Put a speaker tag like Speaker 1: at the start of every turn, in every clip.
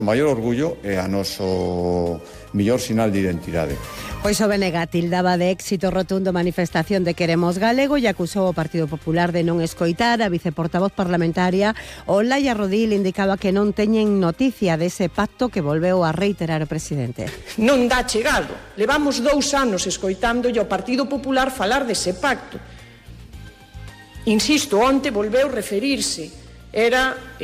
Speaker 1: O maior orgullo é a noso mellor sinal de identidade.
Speaker 2: Pois o BNG tildaba de éxito rotundo a manifestación de Queremos Galego e acusou o Partido Popular de non escoitar. A viceportavoz parlamentaria Olaya Rodil indicaba que non teñen noticia dese pacto que volveu a reiterar o presidente.
Speaker 3: Non dá chegado. Levamos 2 anos escoitando ao Partido Popular falar dese pacto. Insisto, onte volveu referirse. Era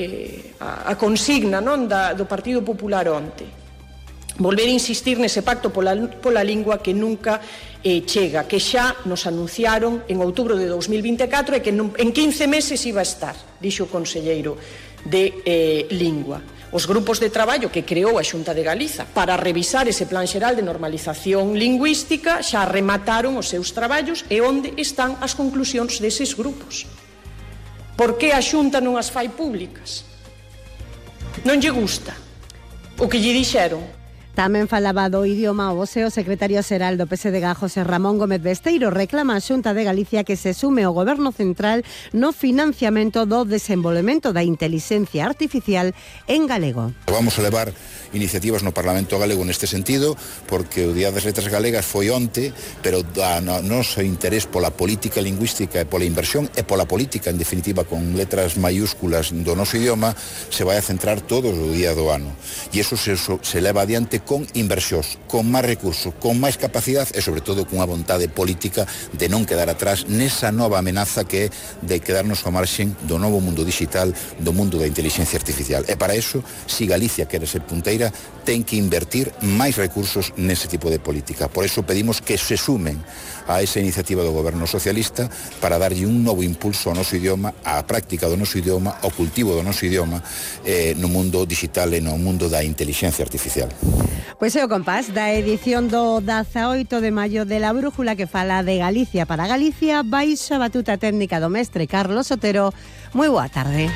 Speaker 3: a consigna, non, do Partido Popular onte. Volver a insistir nese pacto pola lingua que nunca chega, que xa nos anunciaron en outubro de 2024 e que en 15 meses iba a estar, dixo o conselleiro de Lingua. Os grupos de traballo que creou a Xunta de Galiza para revisar ese plan xeral de normalización lingüística xa remataron os seus traballos e onde están as conclusións deses grupos. Por que a Xunta non as fai públicas? Non lle gusta o que lle dixeron.
Speaker 2: Tamén falaba do idioma o secretario xeral do PSDG, José Ramón Gómez Besteiro, reclama a Xunta de Galicia que se sume ao Goberno Central no financiamento do desenvolvemento da intelixencia artificial en galego.
Speaker 4: Vamos a levar iniciativas no Parlamento galego neste sentido, porque o Día das Letras Galegas foi onte, pero o noso interés pola política lingüística e pola inversión e pola política, en definitiva, con letras mayúsculas do noso idioma, se vai a centrar todo o día do ano. E iso se leva adiante con inversións, con máis recursos, con máis capacidade e, sobre todo, cunha vontade política de non quedar atrás nesa nova amenaza que é de quedarnos ao marxen do novo mundo digital, do mundo da inteligencia artificial. E para eso, si Galicia quere ser punteira, ten que invertir máis recursos nese tipo de política. Por eso pedimos que se sumen a esa iniciativa do Goberno Socialista para darlle un novo impulso ao noso idioma, á práctica do noso idioma, ao cultivo do noso idioma no mundo digital e no mundo da inteligencia artificial.
Speaker 2: Pois é o compás da edición do 18 de maio de La Brújula, que fala de Galicia para Galicia, baixo a batuta técnica do mestre Carlos Otero. Moi boa tarde.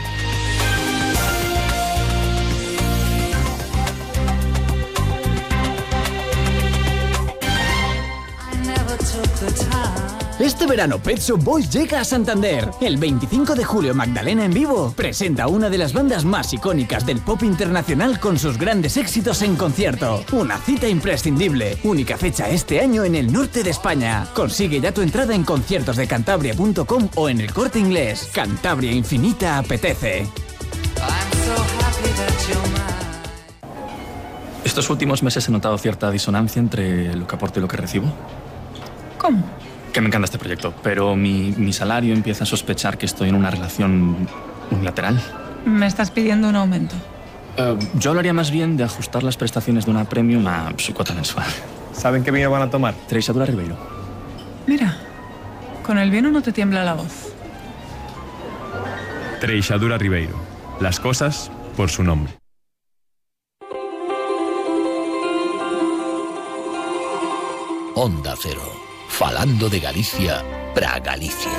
Speaker 5: Este verano Pet Shop Boys llega a Santander. El 25 de julio Magdalena en vivo presenta una de las bandas más icónicas del pop internacional con sus grandes éxitos en concierto. Una cita imprescindible. Única fecha este año en el norte de España. Consigue ya tu entrada en conciertosdecantabria.com o en el Corte Inglés. Cantabria Infinita apetece.
Speaker 6: Estos últimos meses he notado cierta disonancia entre lo que aporto y lo que recibo.
Speaker 7: ¿Cómo?
Speaker 6: Que me encanta este proyecto, pero mi salario empieza a sospechar que estoy en una relación unilateral.
Speaker 7: ¿Me estás pidiendo un aumento?
Speaker 6: Yo hablaría más bien de ajustar las prestaciones de una premium a su cuota mensual.
Speaker 8: ¿Saben qué vino van a tomar?
Speaker 6: Treixadura Ribeiro.
Speaker 7: Mira, con el vino no te tiembla la voz.
Speaker 8: Treixadura Ribeiro. Las cosas por su nombre.
Speaker 9: Onda Cero. Falando de Galicia para Galicia.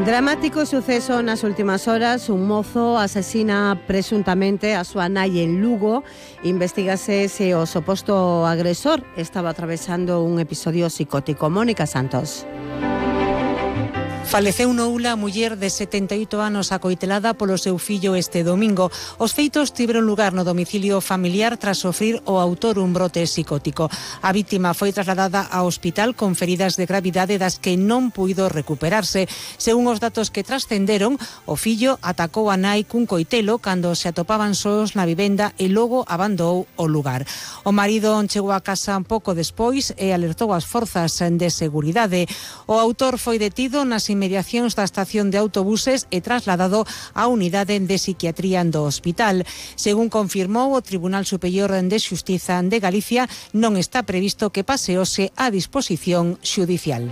Speaker 2: Dramático suceso nas últimas horas. Un mozo asesina presuntamente a súa nai en Lugo. Investígase se o suposto agresor estaba atravesando un episodio psicótico. Mónica Santos.
Speaker 10: Faleceu no Ula a muller de 78 anos acoitelada polo seu fillo este domingo. Os feitos tiveron lugar no domicilio familiar tras sofrir o autor un brote psicótico. A vítima foi trasladada ao hospital con feridas de gravidade das que non puido recuperarse. Según os datos que trascenderon, o fillo atacou a nai cun coitelo cando se atopaban sós na vivenda e logo abandonou o lugar. O marido chegou a casa un pouco despois e alertou as forzas de seguridade. O autor foi detido nas inmediacións da estación de autobuses e trasladado á unidade de psiquiatría do hospital. Según confirmou o Tribunal Superior de Xustiza de Galicia, non está previsto que paseose a disposición xudicial.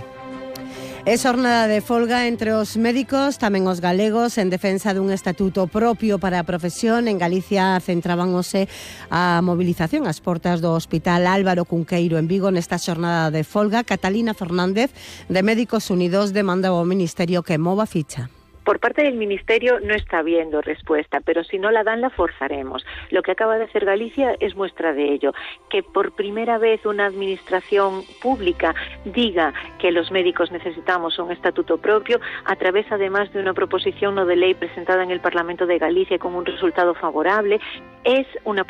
Speaker 2: É xornada de folga entre os médicos, tamén os galegos, en defensa dun estatuto propio para a profesión. En Galicia centrábanse a movilización ás portas do Hospital Álvaro Cunqueiro en Vigo nesta xornada de folga. Catalina Fernández, de Médicos Unidos, demanda ao Ministerio que mova ficha.
Speaker 11: Por parte del Ministerio no está habiendo respuesta, pero si no la dan, la forzaremos. Lo que acaba de hacer Galicia es muestra de ello, que por primera vez una administración pública diga que los médicos necesitamos un estatuto propio, a través además de una proposición no de ley presentada en el Parlamento de Galicia con un resultado favorable. Es una